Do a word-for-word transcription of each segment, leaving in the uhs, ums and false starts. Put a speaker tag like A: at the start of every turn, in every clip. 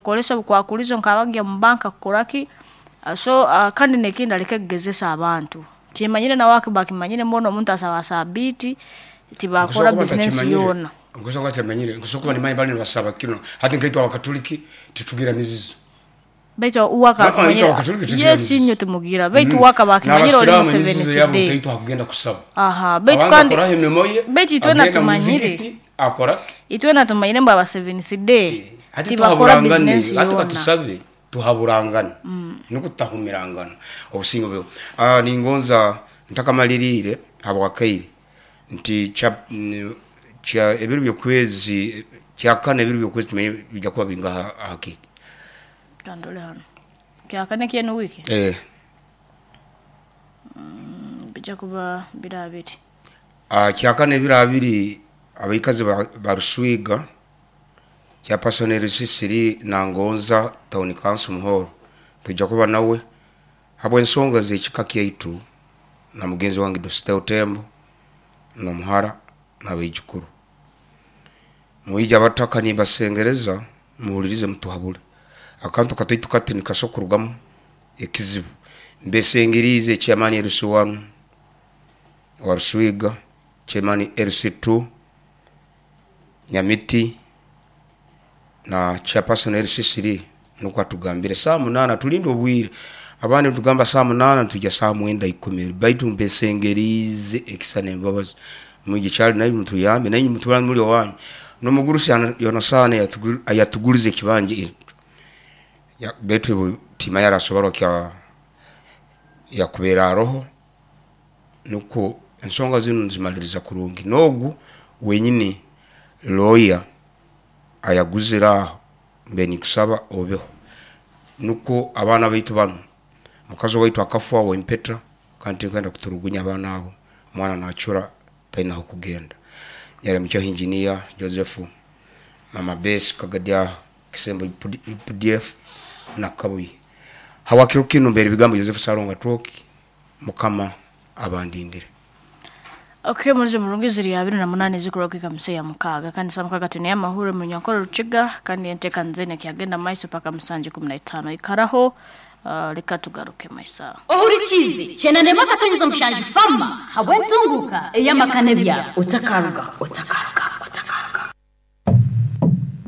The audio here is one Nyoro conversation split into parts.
A: Kukolesa obukwakulizo nk'abagya mu banka kukoraki. Ah, so uh, kandi nekindi aleke kugezesa abantu kimanyire nawe akiba akimanyire mbona omuntu asaba sabiiti tibakora bizinesi yoona.
B: Nkusobola kuba tamanyire, nkusobola kuba nimanyi bali nibasaba kino. Hati nkaitwe Abakatuliki titugira mizizo.
A: Baitu uwaka
B: Nako
A: akimanyire
B: naitwe Abakatuliki tugira
A: yes
B: mizizo.
A: Inyo tumugira, baitu uwaka bakimanyire oli
B: N'abasiraamu emizizo yabo
A: mu Seventh Day.
B: nkaitwe hakugenda kusaba.
A: Aha, baitu
B: Abanza
A: kandi
B: akoraho emirimo ye,
A: baitu itwena
B: agenda mu
A: tumanyire.
B: muzigiti, akora.
A: Itwena tumanyire mbu aba Seventh Day
B: Hati
A: tibakora
B: tuhaburangane,
A: bizinesi
B: hati
A: yoona.
B: katusabe tuhaburangane nuko tutahumirangana obusingo bwe. Ah, ningonza ntakamalirire habwakaire nti kya mm, kya ebiro byokwezi kyakana, ebiro byokwezi tumenye bijja kuba bingaha hakiki.
A: Kandole hano kyakane kyenu wiki.
B: eh
A: Bijja kuba biro abiri.
B: Ah, kyakana ebiro abiri, abaikazi ba- ba Ruswiga kya personel sisiri nangonza town council muhoro tujja kuba nawe habw'ensonga z'ekika kyaitu na mugenzi wange Dositeo Tembo n'omuhara n'abaijukuru. Mwija abataka, nimbasengereza muhulirize, mutuhabule akantu kataitu kati nikasobola kurugamu ekizibu. Mbesengerize chairman L C one wa Ruswiga, chairman L C two Nyamiti na chairperson L C three, nuko atugambire saa munana tulinde obwire. Abandi tugamba saa munana, tujja saa mwenda ikumi, baitu mbesengerize ekisa nembabazi mwije kyali naye mutuyambe naye mutula muli owanyu nomugurusi Yonasani ayatugulize ekibanja ya, betu tima yarasoborwa kya yakubeera aroho, nuko ensonga zinu nzimaliriza kurungi nogu wenyini lawyer ayaguzire aho. Mbe nikusaba obeho nuko abaana baitu bano, mukazi waitu akafa wempeta kandi tinkwenda kuturugunya abaana abo, omwana nacura talina kugenda. Nyara mukyaho engineer Joseph, mama Besi Kagadya Kisembo U P D F na Kabuye hawakiro kino mbere bigambo Joseph Saronga Troki, Mukama abandindire.
A: Okay, muri murungi ziri abiri na munani zikoroka kamse ya mukaga kandi sa mukaga tuni amahuro mu nyankoro Rukiga kandi enteka nzene kyagenda maiso paka musanje kumi na itano ikaraho. uh, reka tugaruke maisa.
C: Ohurikizi chenanema katonyeza mushanju fama habwentunguka eyamakane bya otakaruga otakaruga otakaruga.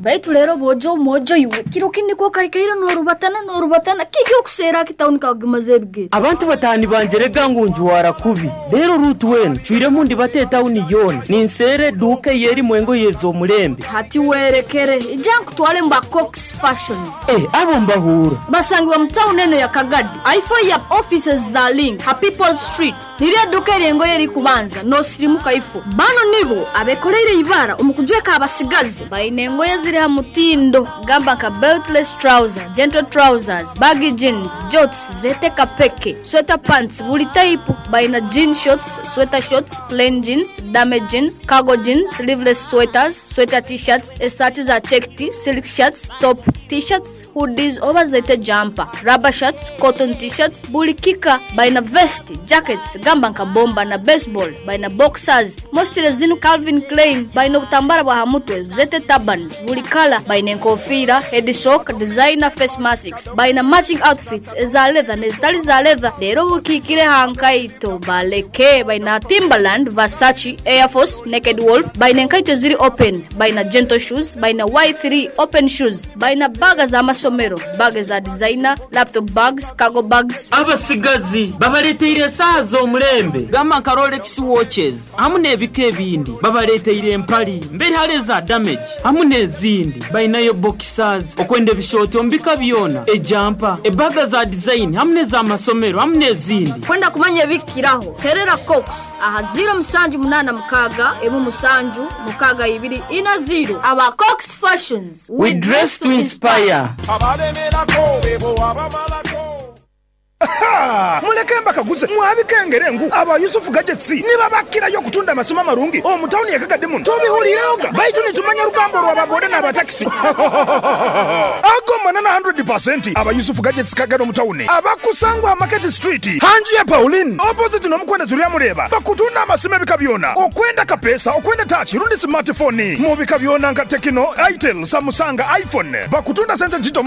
A: Baitu rero bojo mojo iwe kiro kindi ko kaikaira norubatana norubatana kiki okusera kitawuni kagimaze ebigere.
D: Abantu batani banje rega ngu njuwara kubi rero rutu wenu cwiremu ndi bate tawuni yona ninsere duke yeri mwengo yezo omulembe.
A: Hati werekere ija nkutwale mba Cox Fashions.
D: Eh, abo mbahura.
A: Basangibwa mu tawuni eno ya Kagadi aifo ya offices za Link ha Peoples Street, niryo duka eryengoye erikubanza nosirimuka ifo. Bano nibo abekoreire ibara omu kujweka abasigazi baine engoye ziri ha mutindo, gamba nka beltless trouser, gentle trousers, baggy jeans, jorts zeteka peke, sweater pants buli type. Baina jean shorts, sweater shorts, plain jeans, damage jeans, cargo jeans, sleeveless sweaters, sweater T-shirts, esaati za checked, silk shirts, top T-shirts, hoodies oba zete jumper, rubber shirts, cotton T-shirts buli kika. Baina vest, jackets gamba nka bomba na baseball. Baina boxers mostly zinu Calvin Klein. Baina obutambara bwa hamutwe zete turbans buli kala. Baina enkofiira, head sock, designer face masks. Baina matching outfits eza leather nezitali za leather. Leero bukiikire hankaito baleke. Baina Timberland, Versace, Air Force, Naked Wolf. Baina enkaito ziri open. Baina gentle shoes. Baina Y three open shoes. Baina baga z'amasomero, baga za designer, laptop bags, cargo bags.
D: Abasigazi babaleteire esaaha z'omulembe gamba nka Rolex watches hamu n'ebika ebindi. Babaleteire empali mberi hali eza damage hamu n'ezindi. Balinayo boxers okwenda ebishooti omu bika byona, ejampa, ebaga za design hamu n'ez'amasomero hamu n'ezindi.
A: Kwenda kumanya ebikiraho terera Cox aha ziro musanju munana mukaga emu musanju mukaga ibiri ina ziro. Aba Cox Fashions.
D: We dress to inspire.
E: Abalemerako bebo abamalako.
F: Muleke mbakaguze mwabikengere ngu aba Yusufu Gadgets nibabakirayo okutunda amasimu amarungi omu tawuni yakagadde muno. Tubihulireoga baitu nitumanya rugambo lwababoda n'abatakisi ago manana kikumi aba Yusufu Gadgets Kagado mu tawuni abakusangwa Market Street hanji ya Pauline opposite n'omukwenda tulyamuleba. Bakutunda amasimu ebika byona, okwenda kapesa, okwenda touch rundi smartphone mu bika byona nka Tecno, Itel, Samsung, iPhone. Bakutunda sente ntito.